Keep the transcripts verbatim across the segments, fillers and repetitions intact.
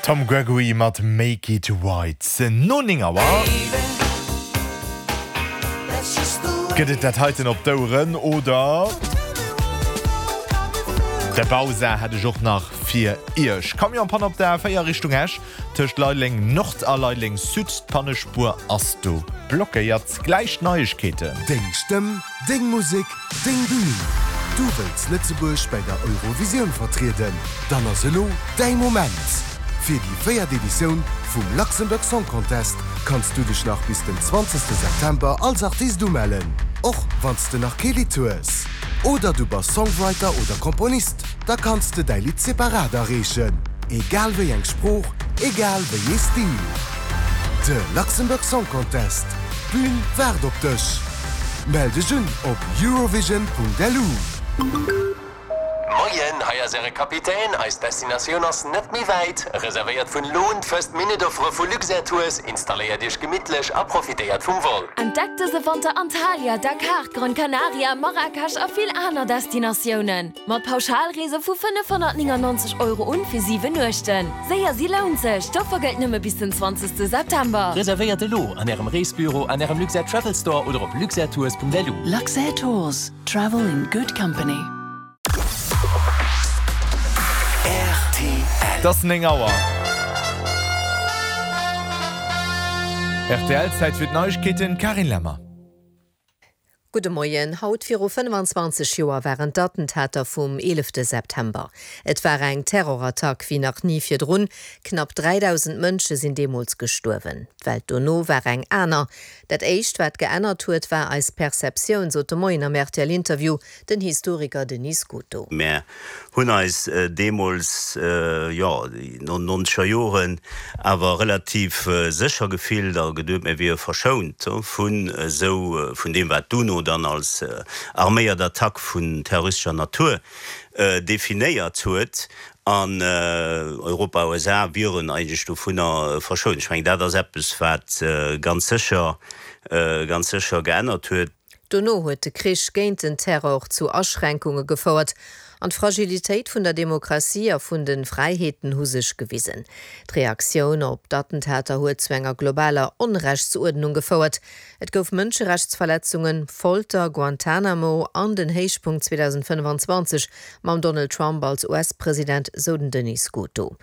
Tom Gregory mat Make It Right. No néng Auer gëtt et dat heiten op d'Oueren oder de Bausa hätt ech och nach fir Iech. Camion-Panne op der A véier Richtung Esch, tëscht Leideleng Nord a Leideleng Sud, d'Pannespuer ass do blockéiert. Gläich d'Neiegkeeten. Deng Stëmm, deng Musek, deng Bün! Du wëlls Lëtzebuerg bäi der Eurovisioun vertrieden? Dann ass elo däi Moment! Fir déi véiert Editioun vum Luxembourg Song Contest kanns du dech nach bis den zwanzegste September als Artist umellen, och wann s de nach kee Lidd hues. Oder du bass Songwriter oder Komponist, da kanns de däi Lidd separat areechen, egal wéi eng Sprooch, egal wéi ee Stil. De Luxembourg Song Contest, d'Bün waart op dech! Mell dech un op eurovision.lu. Moien, hei ass Äre Kapitän. Eis Destinatioun ass net méi wäit. Reservéiert vun elo un d'First Minute Offere vu Luxair Tours, installéiert Iech gemittlech a profitéiert vum Vol. Entdeckt dëse Wanter Antalya, Dakar, Gran Canaria, Marrakesch a vill aner Destinatiounen. Mat Pauschalreese vu fënnefhonnertnéngannonzeg Euro un fir siwen Nuechten. Séier si lount sech! D'Offer gëllt nëmme bis den zwanzegste September. Reservéiert elo an Ärem Reesbüro, an Ärem Luxair Travel Store oder op luxairtours.lu. Luxair Tours, travel in good company. Et ass néng Auer. Rtl, Zäit fir d'Neiegkeeten, Carine Lemmer. Gudde Moien. Haut viru fënnfanzwanzeg Joer waren d'Attentater vum eelefte September. Et war eng Terrorattack wéi nach ni virdrun. Knapp dräidausend Mënsche sinn deemools gestuerwen. D'Welt dono war eng aner. Dat éischt wat geännert huet, war eis Perceptioun, sot de Moien am R T L-Interview den Historiker Denis Scuto. Mär hunn eis deemools, jo, no nonzeger Joren awer relativ sécher gefillt a geduet, mir wiere verschount vun esou, vun deem, wat d'UNO dann als arméiert Attack vun terroristescher Natur definéiert huet. An Europa, U S A wieren eigentlech dovunner verschount. Ech mengen, dat ass eppes, wat ganz sécher, ganz sécher geännert huet. Dono huet de Krich géint den Terror zu Aschränkunge gefouert an d'Fragilitéit vun der Demokratie a vun de Fräiheeten hu sech gewisen. D'Reaktioun op d'Attentater huet zu enger globaler Onrechtsuerdnung gefouert. Et gouf Mënscherechtsverletzungen, Folter, Guantanamo an den Héichpunkt zweedausendfënnfanzwanzeg mam Donald Trump als U S-President, sou den Denis Scuto.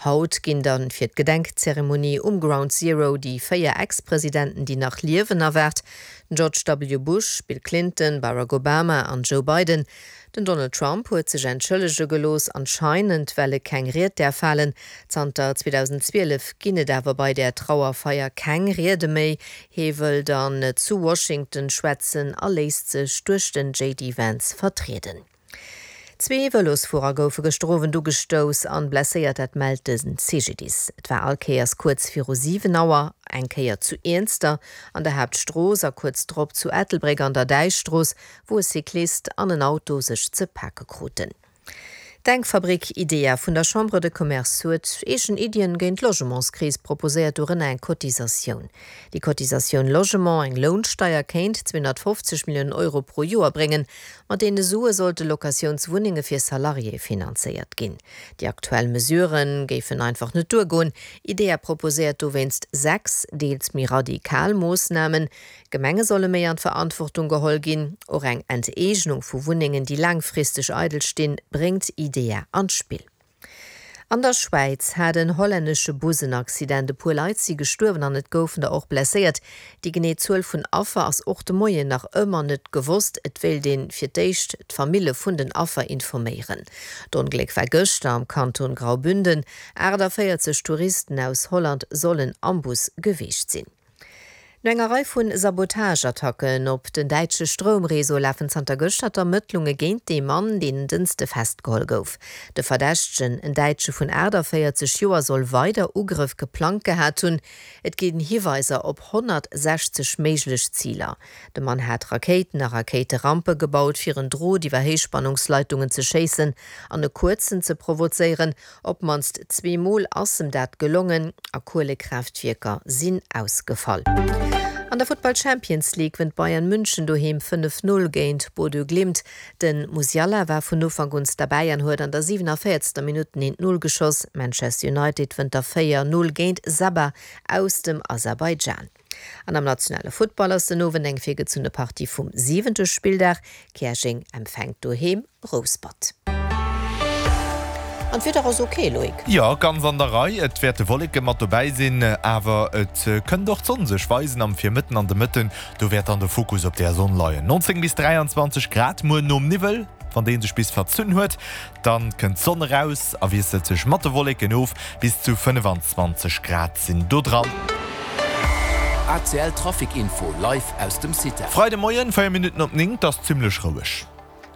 Haut ginn dann fir d'Gedenkzeremonie um Ground Zero déi véier Ex-Presidenten, déi nach liewen, erwaart, den George W. Bush, Bill Clinton, Barack Obama an Joe Biden. Den Donald Trump huet sech entschëllege gelooss, anscheinend well e keng Ried däerf halen. Zanter zweedausendzwielef ginn et awer bei där Trauerfeier keng Riede méi. Hie wëll dann zu Washington schwätzen a léisst sech duerch den J D Vance vertrieden. Zwee Vëlosfuerer goufe gëschter Owend ugestouss an blesséiert, dat mellt de C G D I S. Et war all Kéiers kuerz viru siwen Auer, eng Kéier zu Iernster an der Haaptstrooss a kuerz drop zu Ettelbréck an der Däichstrooss, wou e Cyclist an en Auto sech ze pake kruten. D'Denkfabrik IDEA vun der Chambre de Commerce huet eegen Iddien géint d'Logementskris proposéiert, dorënner eng Cotisatioun. Déi Cotisatioun Logement, eng Lounsteier, kéint zweehonnertfofzeg Milliounen Euro pro Joer bréngen. Mat deene Sue sollte Locatiounswunnenge fir Salariéë finanzéiert ginn. Déi aktuell Mesurë géifen einfach net duergoen. IDEA proposéiert dowéinst sechs, deels méi radikal Moossnamen. Gemenge solle méi an d'Verantwortung geholl ginn. Och eng Enteegnung vu Wunnengen, déi laangfristeg eidel stinn, bréngt IDEA an d'Spill. An der Schwäiz hat en hollännesche Bus en Accident. E puer Leit si gestuerwen an et goufen der och blesséiert. Déi genee Zuel vun Affer ass och de Moien nach ëmmer net gewosst. Et wéilt ee fir d'éischt d'Famille vun den Affer informéieren. D'Ongléck war gëschter am Kanton Graubünden. achtanvéierzeg Touristen aus Holland sollen am Bus gewiescht sinn. No enger Rei vu Sabotageattacken op den däitsche Stroumreseau lafen zanter gëschter d'Ermëttlunge géint dee Mann, deen en Dënschde festgeholl gouf. De Verdächtegen, en Däitsche vun achtanvéierzeg Joer, soll weider Ugrëff geplangt gehat hunn. Et ginn Hiweiser op honnertsechzeg méiglech Ziler. De Mann hat Rakéiten a Rakéiterampe gebaut, fir en Drot iwwer Héichspannungsleitungen ze schéissen an e Kuerzen ze provozéieren. Op d'mannst zweemol ass em dat gelongen a Kuelekraaftwierker sinn ausgefall. An der Futtball Champions League wënnt Bayern München doheem fënnef Null géint Bodø Glimt. De Musiala war vun Ufank un derbäi an huet an der siwenavéierzter Minutt den eent Null geschoss. Manchester United wënnt da véier Null géint Sabah aus dem Aserbaidschan. An am nationale Futtball ass den Owend eng virgezunne Partie vum siwente Spilldag. Käerjeng empfänkt doheem Rouspert. An d'Wieder ass ok, Loïc? Jo, ganz an der Rei. Et wäerte Wolleke mat dobäi sinn, awer et kënnt och d'Sonn sech weisen am Virmëtten an de Mëtten. Do wäert dann de Fokus op der Sonn leien. neunzéng bis dräianzwanzeg Grad muer nom Niwwel, wann dee sech bis verzunn huet, dann kënnt d'Sonn eraus a wiesselt sech mat de Wolleken of. Bis zu fënnefanzwanzeg Grad sinn do dran. A C L Trafic Info live aus dem Citec. Freide Moien, véier Minutten op néng, 't ass zimmlech roueg.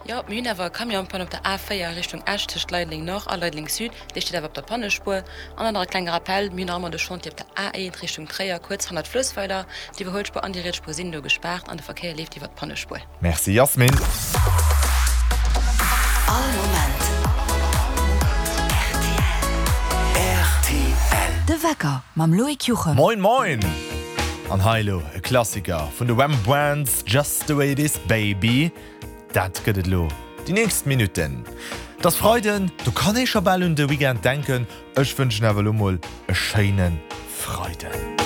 Jo, mir hunn awer e Camion-Panne op der A véier Richtung Esch tëscht Leideleng Nord a Leideleng Sud. Dee steet awer op der Pannespuer. An dann nach e klenge Rappell, Mir hunn nach ëmmer de Chantier op der A eent Richtung Tréier, kuerz hannert Fluessweiler. D'Iwwerhuelspuer an déi riets Spuer sinn do gespaart an de Verkéier leeft iwwer d'Pannespuer. Merci Yasmine. All Moment rtl. De Wecker mam Loïc Juchem. Moin moin! An hei elo e Klassiker vun de Wham! Brands, Just the way it is baby. Dat gëtt et elo déi nächst Minutten. Et ass Freiden, do kann ee scho bal un de Weekend denken. Ech wënschen awer elo mol e schéine Freiden.